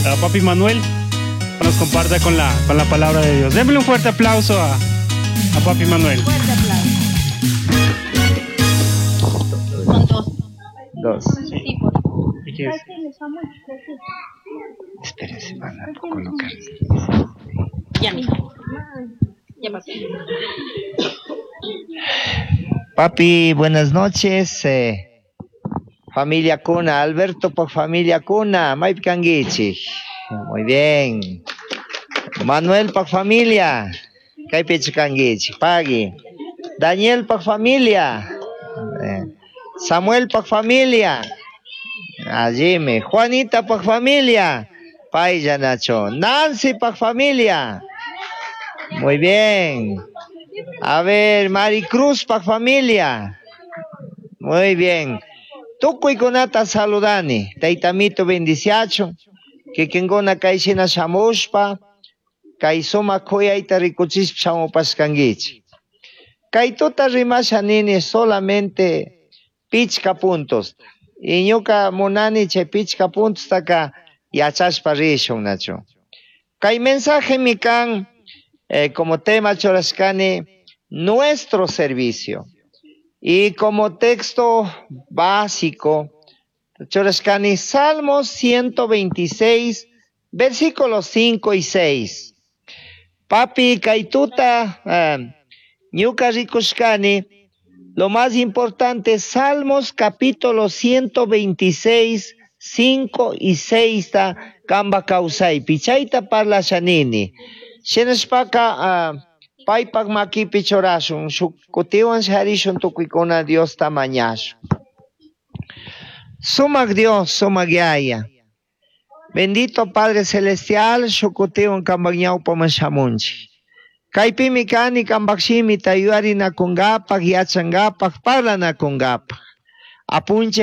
A Papi Manuel nos comparta con la palabra de Dios. Démosle un fuerte aplauso a Papi Manuel. Fuerte aplauso. Son dos. Dos. Sí, por ¿Y qué es? Espérense, van a colocar. Ya, mijo. Ya pasó. Papi, buenas noches. Familia Cuna, Alberto por familia Cuna, Maip Kanguichi. Muy bien. Manuel por familia, Kaipichi Kanguichi, Pagui. Daniel por familia. Samuel por familia. Allime. Juanita por familia. Paya Nacho. Nancy por familia. Muy bien. A ver, Maricruz pa familia. Muy bien. Tukuykunata saludani. Taytamito bendiciacho. Kikinkuna kayshina shamushpa. Kay sumak kuyayta rikuchishpa shamupashkankichik. Kay tuta rimasha nini solamente pichka puntos. Y ñuka munani chay pichka puntostaka yachashpa rishun, nacho. Kay mensaje mi kan como tema churashkani nuestro servicio. Y como texto básico, churashkani Salmos 126, versículos 5 y 6. Papi kaytuta, ñuka rikushkani, lo más importante, Salmos capítulo 126, 5 y 6 ta kamba kawsaypi. Chayta parlashanini. Shinashpaka, paypak makipi churashun, shuk kutiwan sharishun tukuykuna Diosta mañashun. Sumak Dios, sumak Yaya. Bendito Padre Celestial, shuk kutiwan kambak ñawpaman shamunchik. Kaypimi kani kambak shimita yuyarinakungapak, yachangapak, parlanakungapak. Apunchik.